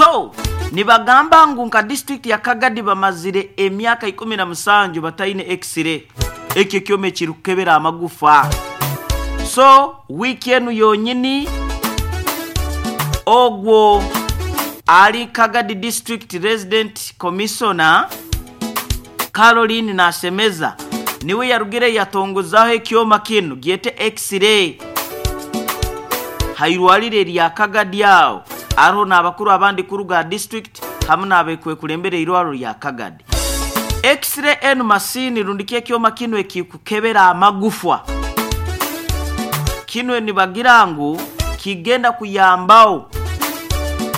So nibagamba ngu nka disiturikiti ya Kagadi bamazire emyaka 17 bataine X-ray, ekyo ekyoma ekirikukebera amagufa. So wiiki enu yonyini ogwo ari Kagadi District Resident Commissioner Caroline Nashemeza niwe yarugire yatongozaho ekyoma kinu gyete X-ray hairwariro erya Kagadi aho aroho n'abakuru abandi kuruga aha district hamu n'abekwekulembera eirwariro rya Kagadi. X-ray enu masiini rundi ki ekyoma kinu ekikukebera amagufwa. Kinu nibagira ngu kigenda kuyambaho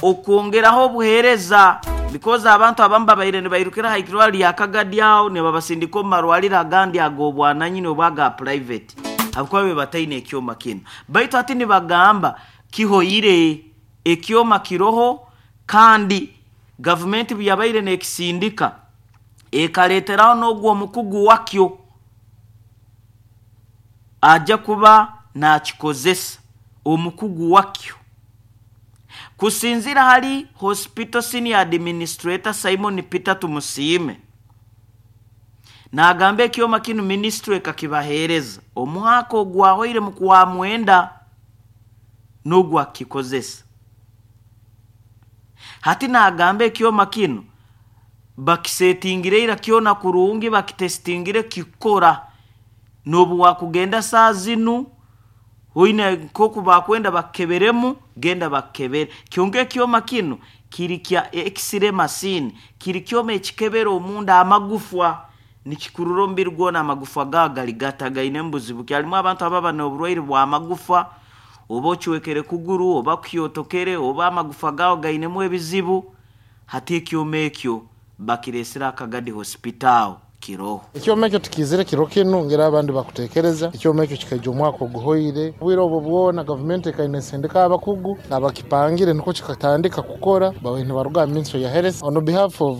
okwongeraho obuheereza because abantu abamu babaire nibairukira aha irwariro rya Kagadi aho nibabasindika omu marwariro agandi ag'obwananyini oba aga private ahabw'okuba babaire bataine ekyoma kinu. Baitu hati nibagamba kihoire, ekyoma kiroho kandi gavumenti buyabaire nekisindika ekareeteraho n'ogwo omukugu wakyo aja kuba nakikozesa, omukugu wakyo. Kusinziira hali Hospital Senior Administrator Simon Peter Tumusiime, nagamba ekyoma kinu minisitule ekakibaheereza omwaka ogwahoire mu Kwamwenda n'ogwo akukikozesa. Hati nagamba ekyoma kinu bakisetingire ira kyona kurungi, bakitesitingire kikora n'obu wakugenda saaha zinu oine nk'oku bakwenda bakukeberemu, genda bakukebere. Kyonka ekyoma kinu kiri kya X-ray machine, kiri kyoma ekikebera omunda amagufwa, nikikurura omubiri gwona amagufwa gaawe gari gata, gainemu buzibu ki. Harimu abantu ababa n'oburwaire bw'amagufa, oba ocwekere kuguru, oba kuhyotokere, oba amagufa gaawe gainemu ebizibu, hati ekyoma ekyo bakireesire aha Kagadi Hospital kiroho. Ekyoma ekyo tikiizire kiro kinu ngeri abandi bakutekereza. Ekyoma ekyo kikaija omwaka oguhoire. Obwire obwo bwona gavumenti ekaine nesindika abakugu abakipangire nukwo kikatandika kukora babaire nibaruga aha Ministry ya Health. On behalf of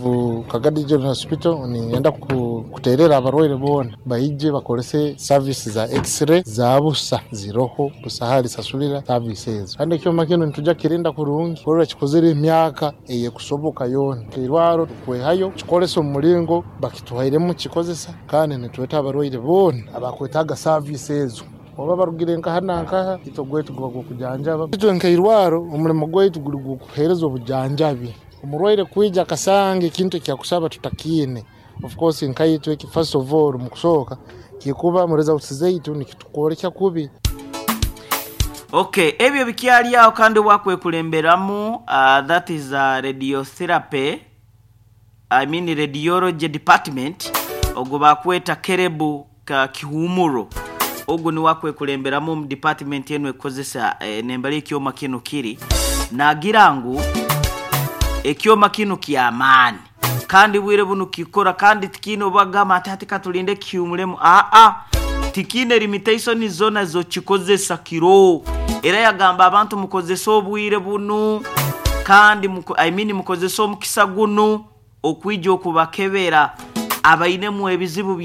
Kagadi General Hospital ninyenda kuterera abarwaire boona baije bakorese service za X-ray za busa ziroho busa halisasulira service ezo. Kandi ekyoma kinu nituja kukirinda kurungi kurora kikozire emyaka eyekusoboka yoona. Nkeirwaro tukwehayo kikoresa omu muringo bakituhairemu kukikozesa kandi nitweta abarwaire boona abakwetaaga service ezo oba barugire nkaha na nkaha, itwe ogwaitu guba gw'okujanjaba. Itwe nkeirwaro omurimo gwaitu guri gw'okuheereza obujanjabi. Omurwaire kwija akasanga ekintu eki akusaba tutakiine, of course nkaitwe first of all omu kusooka kikuba mu results zaitu nikitukwolekya kubi. Ok, ebyo bikyali agho kandi obwakwekulemberamu uh, that is uh, radiotherapy I mean radiology department ogwo bakweta Kerebu Kihumuro ogu niwe akwekulemberamu omu department enu ekukozesa eh, nembali ekyoma kinu kiri nagira ngu ekyoma kinu kyamaani kandi bwire bunu kikora kandi tikiine obagamba nti hati katulinde kihumuremu aa tikiine limitation zona zokikozesa kiro era yagamba abantu mukozese obwire bunu kandi I mean mukozese omukisa gunu okwija okubakebera abainemu ebizibu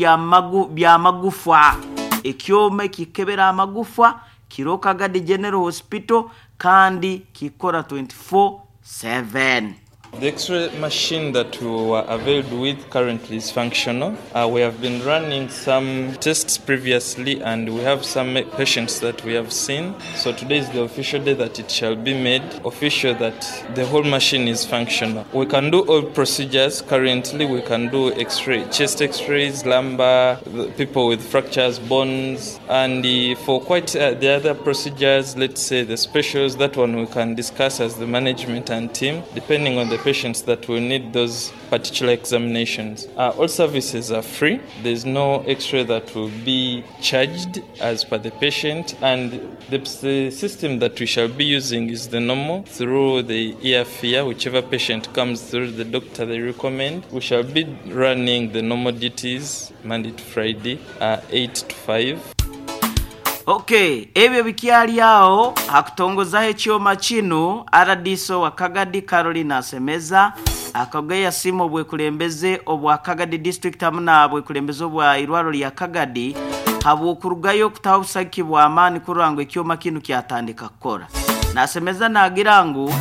by'amagufa. Ekyoma ekikebera amagufa kiro Kagadi General Hospital kandi kikora 24/7. The x-ray machine that we were availed with currently is functional. Uh, we have been running some tests previously and we have some patients that we have seen. So today is the official day that it shall be made official that the whole machine is functional. We can do all procedures currently. We can do x-ray, chest x-rays, lumbar, people with fractures, bones, and for quite uh, the other procedures, let's say the specials, that one we can discuss as the management and team, depending on the patients that will need those particular examinations. Uh, all services are free. There's no x-ray that will be charged as per the patient, and the, the system that we shall be using is the normal through the ear whichever patient comes through the doctor they recommend. We shall be running the normal duties Monday to Friday, uh, 8 to 5. Ok, ebyo bikyali agho, ha kutongozaho ekyoma kinu, rdc owa Kagadi Caroline Asemeza akageyo yasiima obwekulembeze obwa Kagadi District hamu na bwekulembeze obwa irwaro lya Kagadi habw'okurugayo okutaho obusagiki bw'amaani kurora ngu ekyoma kinu kyatandika kukora. Nasemeza nagira ngu.